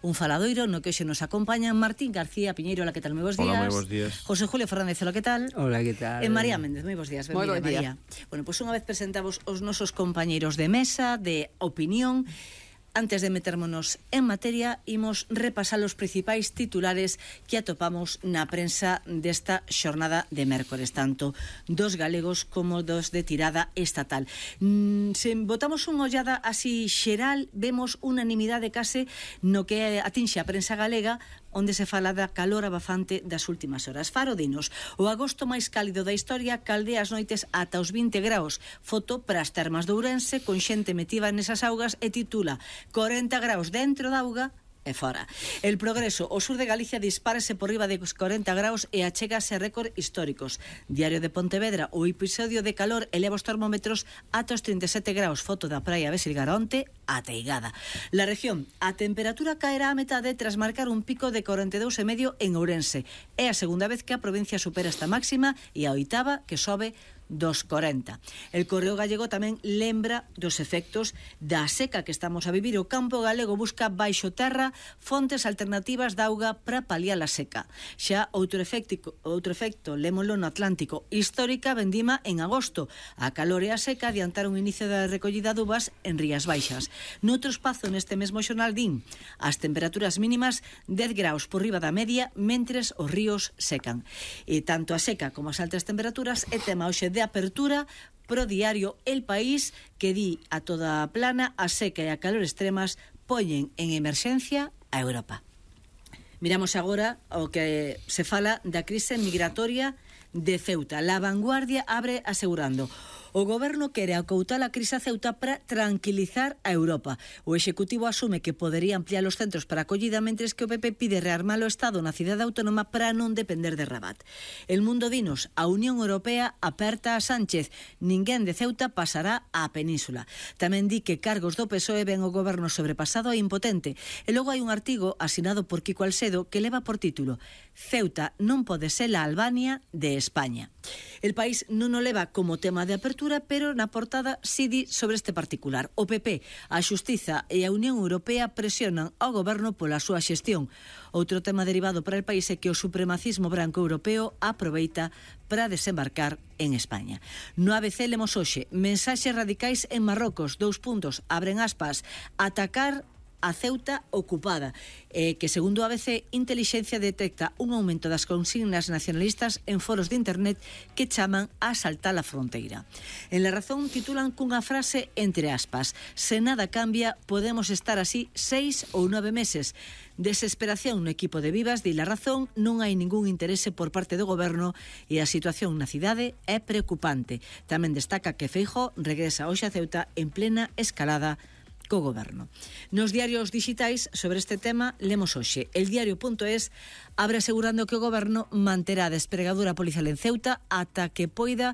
Un faladoiro no que hoxe nos acompañan Martín García Piñeiro, hola, que tal? Moi bons días. Hola, moi bons días. José Julio Fernández, hola, que tal? Hola, que tal? E María Méndez, moi bons días. Moi bon María. día. Bueno, pois unha vez presentamos os nosos compañeiros de mesa, de opinión. Antes de metérmonos en materia, imos repasar os principais titulares que atopamos na prensa desta xornada de mércores, tanto dos galegos como dos de tirada estatal. Se botamos unha ollada así xeral, vemos unanimidade case no que atinxe a prensa galega, onde se fala da calor abafante das últimas horas. Faro dinos, o agosto máis cálido da historia caldea as noites ata os 20 graus. Foto para as termas de Ourense, con xente metida nesas augas, e titula 40 graus dentro da auga e fora. El Progreso, o sur de Galicia dispárase por riba de 40 graus e achégase a récord históricos. Diario de Pontevedra, o episodio de calor eleva os termómetros ata os 37 graus. Foto da praia Besilgaronte, ateigada. La región, a temperatura caerá a metade tras marcar un pico de 42,5 en Ourense. É a segunda vez que a provincia supera esta máxima e a oitava que sobe dos 40. El Correo Gallego tamén lembra dos efectos da seca que estamos a vivir. O campo galego busca baixo terra fontes alternativas de auga para paliar a seca. Xa outro efecto lémolo no Atlántico. Histórica vendima en agosto. A calor e a seca adiantaron o inicio da recollida de uvas en Rías Baixas. Noutro espazo neste mesmo xornal din as temperaturas mínimas 10 graus por riba da media mentres os ríos secan. E tanto a seca como as altas temperaturas é tema hoxe de apertura pro diario El País, que di a toda plana a seca e a calor extremas poñen en emerxencia a Europa. Miramos agora o que se fala da crise migratoria de Ceuta. La Vanguardia abre asegurando: o goberno quere acoutar a crise a Ceuta para tranquilizar a Europa. O Executivo asume que podería ampliar os centros para acollida, mentres que o PP pide rearmar o Estado na cidade autónoma para non depender de Rabat. El Mundo dinos, a Unión Europea aperta a Sánchez, ninguén de Ceuta pasará á península. Tamén di que cargos do PSOE ven o goberno sobrepasado e impotente. E logo hai un artigo asinado por Kiko Alcedo que leva por título: Ceuta non pode ser a Albania de España. El País non o leva como tema de apertura, pero na portada si di sobre este particular. O PP, a Xustiza e a Unión Europea presionan ao goberno pola súa xestión. Outro tema derivado para el país é que o supremacismo branco europeo aproveita para desembarcar en España. No ABC lemos hoxe: mensaxes radicais en Marrocos, 2 puntos, abren aspas, atacar a Ceuta ocupada, que segundo a ABC, Intelixencia detecta un aumento das consignas nacionalistas en foros de internet que chaman a saltar a fronteira. En La Razón titulan cunha frase entre aspas: se nada cambia, podemos estar así 6 ou 9 meses. Desesperación no equipo de Vivas, di La Razón, non hai ningún interese por parte do goberno e a situación na cidade é preocupante. Tamén destaca que Feijóo regresa hoxe a Ceuta en plena escalada co goberno. Nos diarios digitais sobre este tema lemos hoxe: El Diario.es abre asegurando que o goberno manterá a despregadura policial en Ceuta ata que poida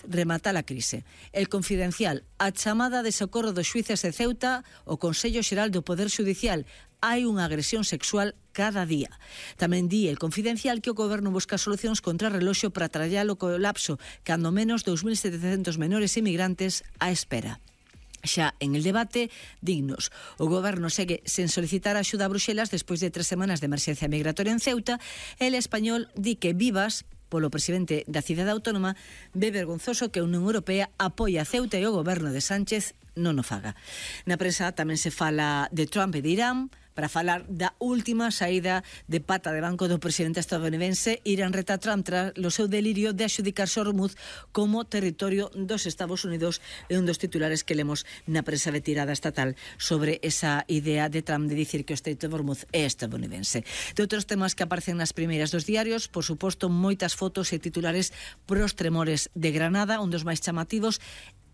rematar a crise. El Confidencial, a chamada de socorro dos xuíces de Ceuta, o Consello Xeral do Poder Xudicial: hai unha agresión sexual cada día. Tamén di El Confidencial que o goberno busca solucións contra o reloxo para trallar o colapso, cando menos 2.700 menores inmigrantes á espera. Xa en El Debate, dignos, o goberno segue sen solicitar axuda a Bruxelas despois de 3 semanas de emerxencia migratoria en Ceuta. El Español di que Vivas, polo presidente da cidade autónoma, ve vergonzoso que a Unión Europea apoia a Ceuta e o goberno de Sánchez non o faga. Na prensa tamén se fala de Trump e de Irán, para falar da última saída de pata de banco do presidente estadounidense. Irán reta a Trump tras o seu delirio de adxudicarse o Hormuz como territorio dos Estados Unidos, e un dos titulares que lemos na prensa de tirada estatal sobre esa idea de Trump de dicir que o Estreito de Hormuz é estadounidense. De outros temas que aparecen nas primeiras dos diarios, por suposto, moitas fotos e titulares pros tremores de Granada, un dos máis chamativos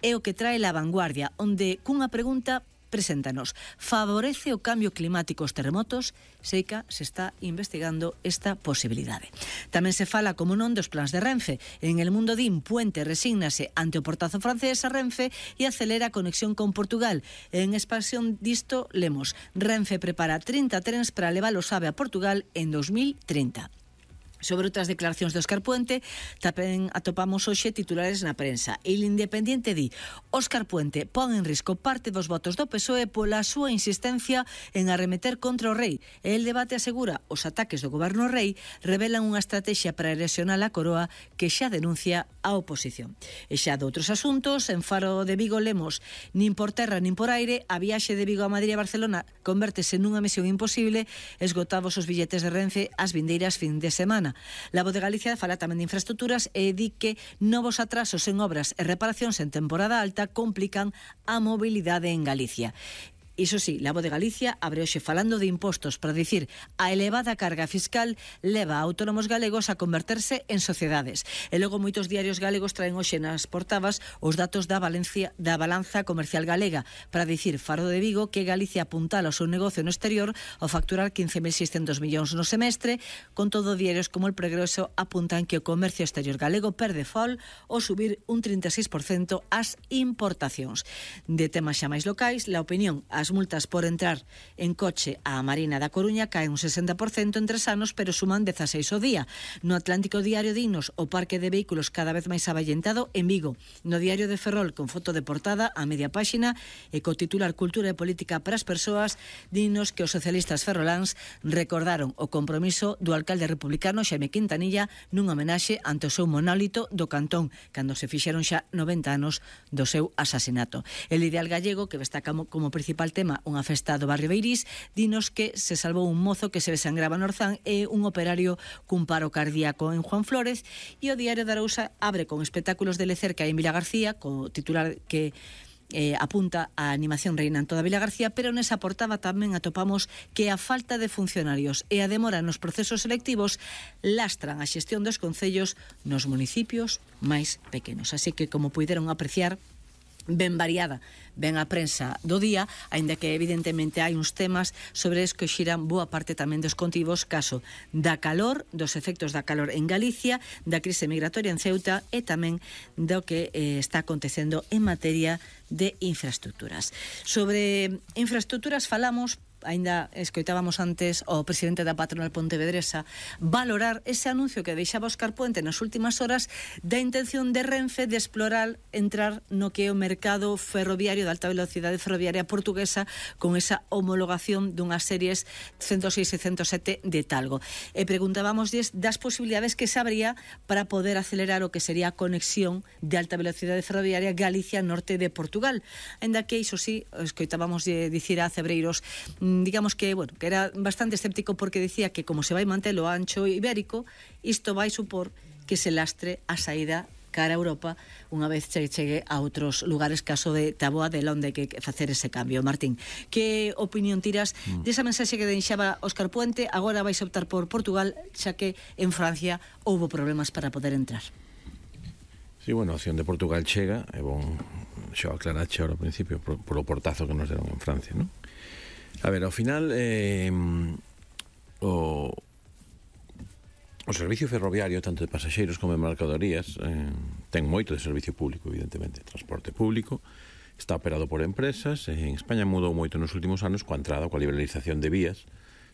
é o que trae La Vanguardia, onde cunha pregunta preséntanos: favorece o cambio climático os terremotos? Seica se está investigando esta posibilidade. Tamén se fala, como non, dos plans de Renfe. En El Mundo din Puente resígnase ante o portazo francés a Renfe e acelera a conexión con Portugal. En expansión disto lemos: Renfe prepara 30 trens para levar o SAVE a Portugal en 2030. Sobre outras declaracións de Óscar Puente, tamén atopamos hoxe titulares na prensa. El Independiente di: Óscar Puente pon en risco parte dos votos do PSOE pola súa insistencia en arremeter contra o rei. E el debate asegura: os ataques do goberno rei revelan unha estrategia para erosionar a coroa que xa denuncia a oposición. E xa de outros asuntos, en Faro de Vigo lemos: nin por terra nin por aire, a viaxe de Vigo a Madrid e Barcelona convértese nunha misión imposible, esgotados os billetes de Renfe as vindeiras fin de semana. La Voz de Galicia fala tamén de infraestructuras e di que novos atrasos en obras e reparacións en temporada alta complican a mobilidade en Galicia. Iso sí, la Voz de Galicia abre hoxe falando de impostos para dicir a elevada carga fiscal leva a autónomos galegos a converterse en sociedades. E logo moitos diarios galegos traen hoxe nas portadas os datos da balanza comercial galega para dicir Faro de Vigo que Galicia apuntala o seu negocio no exterior ao facturar 15.600 millóns no semestre, con todo diarios como El Progreso apuntan que o comercio exterior galego perde fol ao subir un 36% as importacións. De temas xa máis locais, la opinión, as multas por entrar en coche á Marina da Coruña caen un 60% en 3 anos, pero suman 16 ao día. No Atlántico Diario dinos o parque de vehículos cada vez máis avallentado en Vigo. No Diario de Ferrol, con foto de portada a media páxina e co titular Cultura e Política para as Persoas, dinos que os socialistas ferroláns recordaron o compromiso do alcalde republicano Xaime Quintanilla nun homenaxe ante o seu monólito do Cantón, cando se fixeron xa 90 anos do seu asasinato. El Ideal Gallego, que destaca como principal tema unha festa do barrio Beirís, dinos que se salvou un mozo que se desangraba no Orzán e un operario cun paro cardíaco en Juan Flórez. E o Diario da Arousa abre con espectáculos de Lecerca en Vila García, co titular que apunta a animación reina en toda Vila García, pero nesa portada tamén atopamos que a falta de funcionarios e a demora nos procesos selectivos lastran a xestión dos concellos nos municipios máis pequenos. Así que, como puideron apreciar, ben variada, ben a prensa do día, aínda que evidentemente hai uns temas sobre os que xiran boa parte tamén dos contivos, caso da calor, dos efectos da calor en Galicia, da crise migratoria en Ceuta e tamén do que está acontecendo en materia de infraestructuras. Sobre infraestructuras falamos, aínda escoitábamos antes o presidente da patronal pontevedresa valorar ese anuncio que deixaba Óscar Puente nas últimas horas da intención de Renfe de explorar entrar no que é o mercado ferroviario de alta velocidade ferroviaria portuguesa con esa homologación dunhas series 106 e 107 de Talgo. E preguntábamos das posibilidades que se abría para poder acelerar o que sería a conexión de alta velocidade ferroviaria Galicia-Norte de Portugal. Aínda que iso sí, escoitábamos dicir a Cebreiros, digamos que, bueno, que era bastante escéptico porque decía que como se vai manter o ancho ibérico, isto vai supor que se lastre a saída cara a Europa unha vez chegue a outros lugares, caso de Taboa de onde hai que facer ese cambio. Martín, que opinión tiras desa mensaxe que deixaba Óscar Puente? Agora vais optar por Portugal, xa que en Francia houbo problemas para poder entrar. Sí, bueno, a opción de Portugal chega, é bon xa aclarache ahora ao principio por o portazo que nos deron en Francia, non? A ver, ao final o servicio ferroviario, tanto de pasaxeiros como de mercadorías, ten moito de servicio público, evidentemente. Transporte público, está operado por empresas. En España mudou moito nos últimos anos coa entrada, coa liberalización de vías.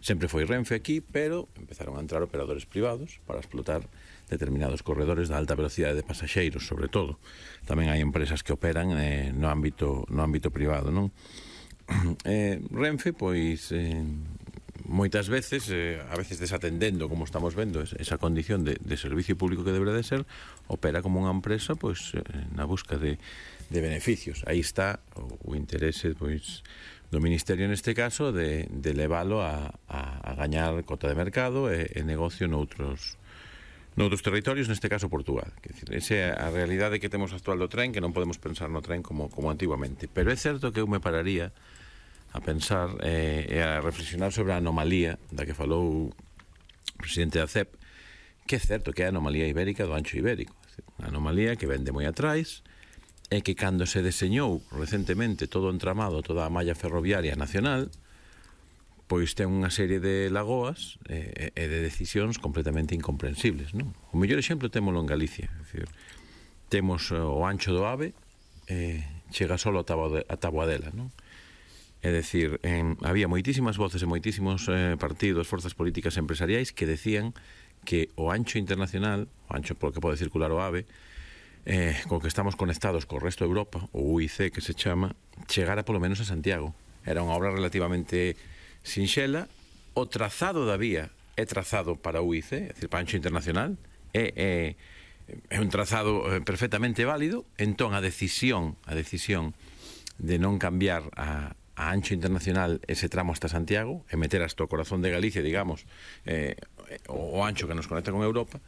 Sempre foi Renfe aquí, pero empezaron a entrar operadores privados para explotar determinados corredores de alta velocidade de pasaxeiros, sobre todo. Tamén hai empresas que operan no ámbito privado, non? Renfe, pois moitas veces, a veces desatendendo, como estamos vendo, esa condición de servicio público que debería de ser, opera como unha empresa pois na busca de beneficios. Aí está o interese pois do Ministerio neste caso de leválo a gañar cota de mercado e negocio noutros territorios, neste caso Portugal. Esa é a realidade que temos actual do tren, que non podemos pensar no tren como antiguamente. Pero é certo que eu me pararía a pensar e a reflexionar sobre a anomalía da que falou o presidente da CEP, que é certo que é a anomalía ibérica do ancho ibérico. Unha anomalía que vende moi atrás e que cando se deseñou recentemente todo o entramado, toda a malla ferroviaria nacional, pois ten unha serie de lagoas e de decisións completamente incomprensibles, non? O mellor exemplo témolo en Galicia, é dicir, temos o ancho do AVE, chega solo a Taboadela, non? É dicir, había moitísimas voces e moitísimos partidos, forzas políticas empresariais que decían que o ancho internacional, o ancho polo que pode circular o AVE, co que estamos conectados co resto de Europa, o UIC que se chama, chegara polo menos a Santiago. Era unha obra relativamente sinxela. O trazado da vía é trazado para o UIC, é dicir, para ancho internacional, é un trazado perfectamente válido. Entón a decisión de non cambiar a ancho internacional ese tramo hasta Santiago e meter hasta o corazón de Galicia, digamos, o ancho que nos conecta con Europa,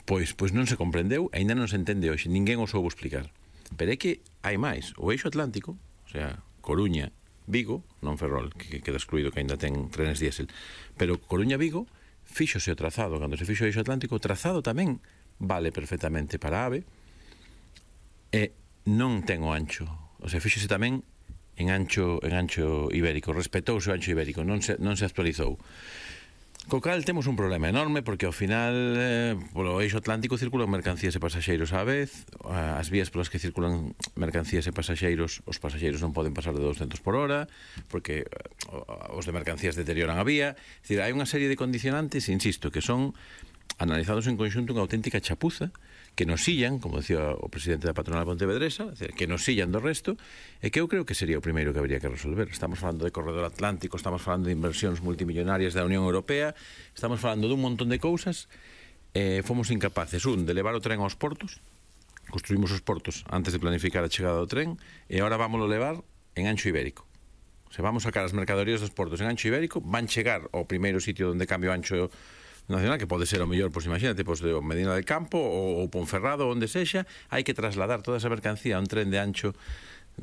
pois non se comprendeu, aínda non se entende hoxe, ninguén o soubo explicar. Pero é que hai máis, o eixo atlántico, o sea, Coruña, Vigo, non Ferrol, que queda excluído, que aínda ten trenes diésel, pero Coruña-Vigo, fíxose o trazado, cando se fixo o eixo atlántico, o trazado tamén vale perfectamente para AVE, e non ten o ancho, o sea, fíxose tamén en ancho ibérico, respetouse o ancho ibérico, non se actualizou. Co cal temos un problema enorme, porque ao final polo eixo atlántico circulan mercancías e pasaxeiros á vez. As vías polas que circulan mercancías e pasaxeiros, os pasaxeiros non poden pasar de 200 por hora, porque os de mercancías deterioran a vía. É dicir, hai unha serie de condicionantes, insisto, que son analizados en conxunto unha auténtica chapuza, que nos sillan, como decía o presidente da patronal pontevedresa, que nos sillan do resto, e que eu creo que sería o primeiro que habría que resolver. Estamos falando de corredor atlántico, estamos falando de inversións multimillonarias da Unión Europea, estamos falando dun montón de cousas, fomos incapaces, de levar o tren aos portos, construímos os portos antes de planificar a chegada do tren, e agora vámoslo levar en ancho ibérico. Se vamos sacar as mercadorías dos portos en ancho ibérico, van chegar ao primeiro sitio onde cambio ancho nacional, que pode ser o mellor, pois imagínate, pois de Medina del Campo ou Ponferrado, onde sexa, hai que trasladar toda esa mercancía a un tren de ancho.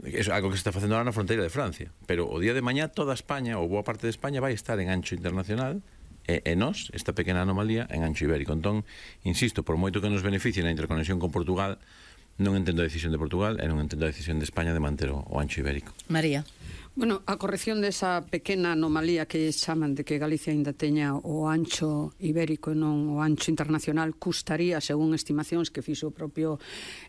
É algo que se está facendo ahora na fronteira de Francia, pero o día de mañá toda España, ou boa parte de España, vai estar en ancho internacional, e nós, esta pequena anomalía, en ancho ibérico. Entón, insisto, por moito que nos beneficie na interconexión con Portugal, non entendo a decisión de Portugal e non entendo a decisión de España de manter o ancho ibérico. María. Bueno, a corrección desa pequena anomalía que chaman de que Galicia ainda teña o ancho ibérico e non o ancho internacional custaría, según estimacións que fixo o propio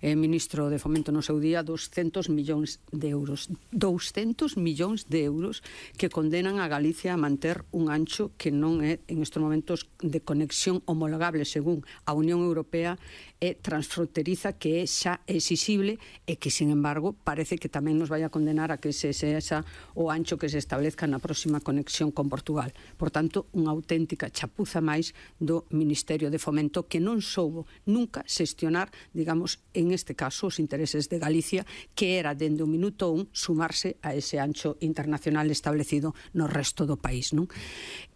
ministro de Fomento no seu día, 200 millóns de euros. 200 millóns de euros que condenan a Galicia a manter un ancho que non é en estes momentos de conexión homologable según a Unión Europea e transfronteriza, que é xa exixible e que, sin embargo, parece que tamén nos vai a condenar a que se esa o ancho que se establezca na próxima conexión con Portugal. Por tanto, unha auténtica chapuza máis do Ministerio de Fomento, que non soubo nunca xestionar, digamos, en este caso, os intereses de Galicia, que era, dende o minuto 1, sumarse a ese ancho internacional establecido no resto do país, non?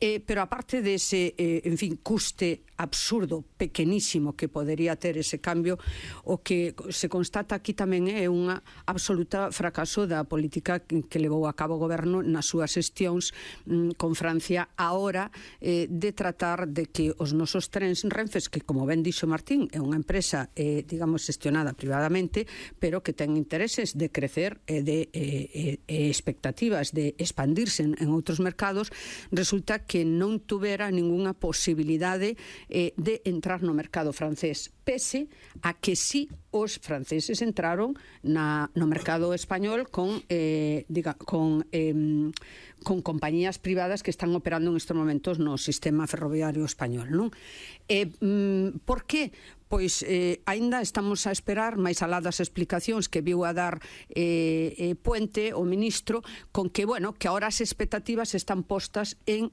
Pero aparte dese, en fin, custe absurdo, pequenísimo, que podería ter ese cambio, o que se constata aquí tamén é unha absoluta fracaso da política que levou a cabo o goberno nas súas xestións con Francia a hora de tratar de que os nosos trens Renfes, que, como ben dixo Martín, é unha empresa, digamos, xestionada privadamente, pero que ten intereses de crecer e de expectativas de expandirse en outros mercados, resulta que non tuvera ninguna posibilidade de entrar no mercado francés, pese a que sí os franceses entraron no mercado español con compañías privadas que están operando en estes momentos no sistema ferroviario español, non? Por que? Pois aínda estamos a esperar, máis alá das explicacións que viu a dar Puente, o ministro, con que, bueno, que agora as expectativas están postas en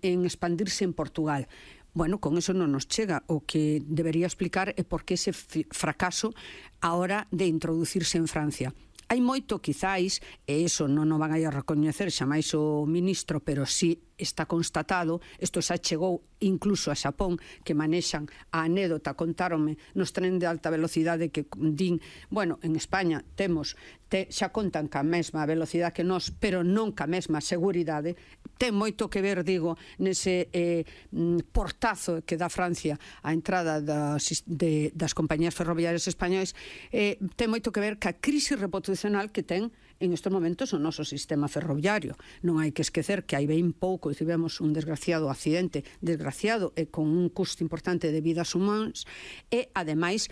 expandirse en Portugal. Bueno, con eso non nos chega. O que debería explicar é por que ese fracaso a hora de introducirse en Francia. Hai moito, quizáis, e iso non o van a recoñecer xamais o ministro, pero sí está constatado, isto xa chegou incluso a Xapón, que manexan a anécdota, contáronme nos tren de alta velocidade que din, bueno, en España xa contan ca mesma velocidade que nós, pero non ca mesma seguridade. Ten moito que ver, digo, nese portazo que dá Francia á entrada das compañías ferroviarias españolas, ten moito que ver ca crise reputacional que ten en estes momentos o noso sistema ferroviario. Non hai que esquecer que hai ben pouco tivemos un desgraciado accidente, desgraciado e con un custo importante de vidas humanas, e ademais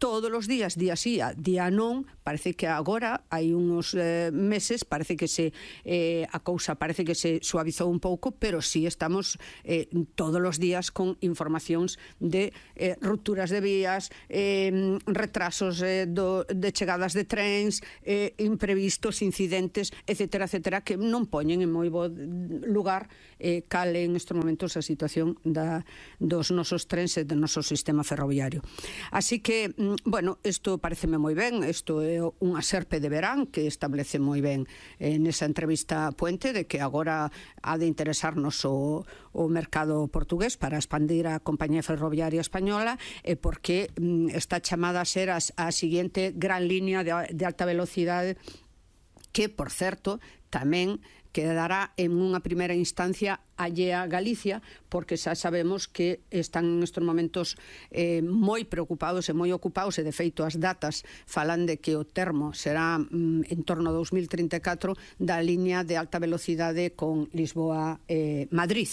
todos os días, día sí, día non, parece que agora hai uns meses, parece que a cousa parece que se suavizou un pouco, pero sí estamos todos os días con informacións de rupturas de vías, retrasos de chegadas de trens, imprevistos, incidentes, etcétera, etcétera, que non poñen en moi bo lugar cal en estes momentos a situación dos nosos trens e do noso sistema ferroviario. Así que, bueno, isto pareceme moi ben, isto é unha serpe de verán que establece moi ben nesa entrevista Puente de que agora ha de interesarnos o mercado portugués para expandir a compañía ferroviaria española e porque está chamada a ser a seguinte gran línea de alta velocidade que, por certo, tamén quedará en unha primeira instancia allea a Galicia, porque xa sabemos que están nestes momentos moi preocupados e moi ocupados, e de feito as datas falan de que o termo será en torno a 2034 da liña de alta velocidade con Lisboa-Madrid,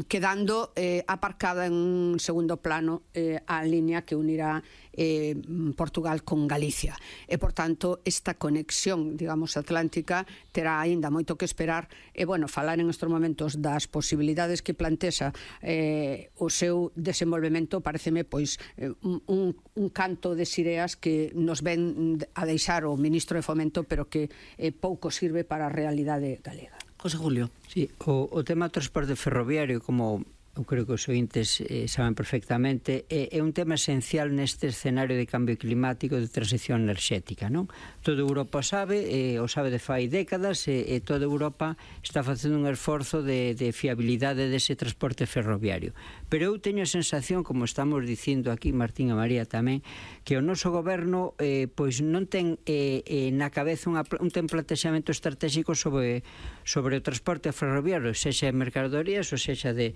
quedando aparcada en segundo plano a liña que unirá Portugal con Galicia. E, por tanto, esta conexión, digamos, atlántica terá aínda moito que esperar e, bueno, falar en estes momentos das posibilidades que plantexa o seu desenvolvemento pareceme, pois, un canto de sireas que nos ven a deixar o ministro de Fomento, pero que pouco sirve para a realidade galega. José Julio. Sí, o tema do transporte ferroviario, como eu creo que os ointes saben perfectamente, é un tema esencial neste escenario de cambio climático, de transición enerxética, non? Toda Europa sabe, o sabe de fai décadas, e toda Europa está facendo un esforzo de fiabilidade dese transporte ferroviario. Pero eu teño a sensación, como estamos dicindo aquí, Martín e María tamén, que o noso goberno pois non ten na cabeza un plantexamento estratégico sobre o transporte ferroviario, sexa de mercadorías ou sexa de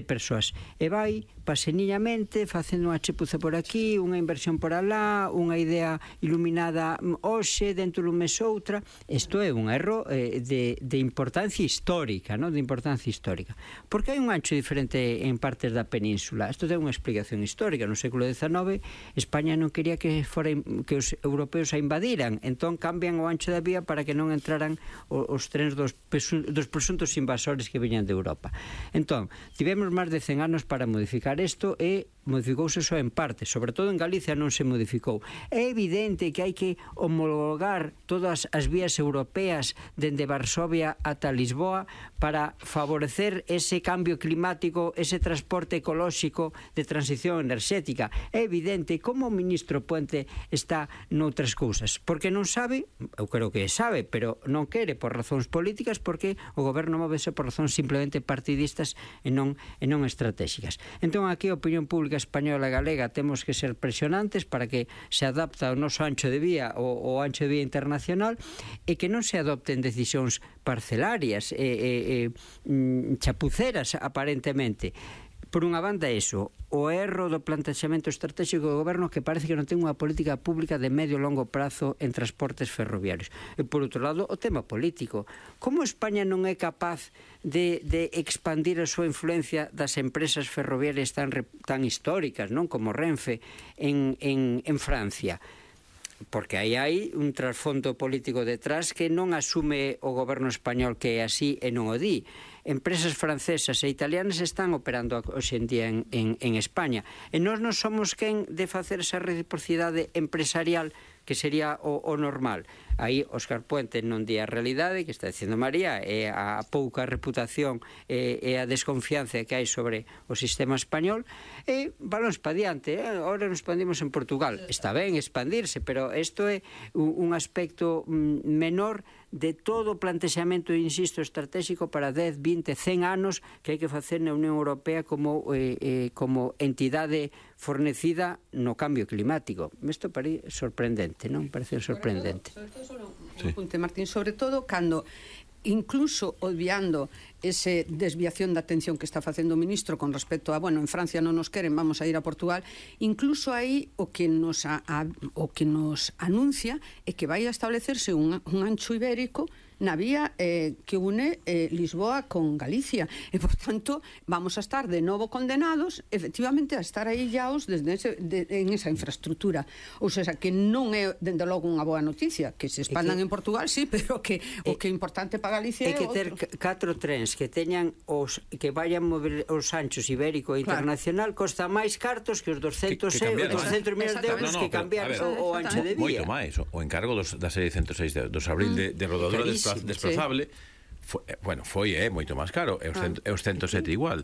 persoas, e vai paseniñamente facendo unha chepuza por aquí, unha inversión por alá, unha idea iluminada hoxe, dentro dun mes outra. Isto é un erro de importancia histórica, non? De importancia histórica, porque hai un ancho diferente en partes da península. Isto ten unha explicación histórica. No século XIX España non quería que os europeos a invadiran, entón cambian o ancho da vía para que non entraran os trens dos presuntos invasores que viñan de Europa. Entón, tivemos máis de 100 anos para modificar isto e modificouse só en parte, sobre todo en Galicia non se modificou. É evidente que hai que homologar todas as vías europeas dende Varsovia ata Lisboa para favorecer ese cambio climático, ese transporte ecolóxico de transición enerxética. É evidente como o ministro Puente está noutras cousas, porque non sabe, eu creo que sabe, pero non quere por razóns políticas, porque o goberno móvese por razóns simplemente partidistas e non estratégicas. Entón aquí a opinión pública española e galega temos que ser presionantes para que se adapta ao noso ancho de vía, o ancho de vía internacional, e que non se adopten decisións parcelarias chapuceras aparentemente. Por unha banda eso, o erro do plantexamento estratégico do goberno, que parece que non ten unha política pública de medio e longo prazo en transportes ferroviarios. E por outro lado, o tema político. Como España non é capaz de expandir a súa influencia das empresas ferroviarias tan históricas, non, como Renfe en Francia? Porque aí hai un trasfondo político detrás que non asume o goberno español que é así e non o di. Empresas francesas e italianas están operando hoxe en día en España, e nós non somos quen de facer esa reciprocidade empresarial que sería o normal. Aí Óscar Puente non di a realidade que está dicindo María, e a pouca reputación e a desconfianza que hai sobre o sistema español, e balóns pa diante. Ahora nos expandimos en Portugal, está ben expandirse, pero isto é un aspecto menor de todo o plantexamento, insisto, estratégico para 10, 20, 100 anos que hai que facer na Unión Europea como entidade fornecida no cambio climático. Isto parece sorprendente, non? Parece sorprendente. Sobre todo, un apunte, Martín, sobre todo cando incluso obviando ese desviación da atención que está facendo o ministro con respecto a, bueno, en Francia non nos queren, vamos a ir a Portugal, incluso aí o que nos anuncia é que vai a establecerse un ancho ibérico na vía que une Lisboa con Galicia. E, por tanto, vamos a estar de novo condenados, efectivamente, a estar aillados en esa infraestructura. Ou seja, que non é, dende logo, unha boa noticia, que se expandan en Portugal, sí, pero que o que é importante para Galicia é que ter 4 trens que teñan que vayan mover os anchos ibérico e internacional costa máis cartos que os 200 millones de euros que cambiar o ancho de vía. Moito máis. O encargo da serie 106 dos abril de rodadura desplazable foi moito máis caro, e os 107 igual.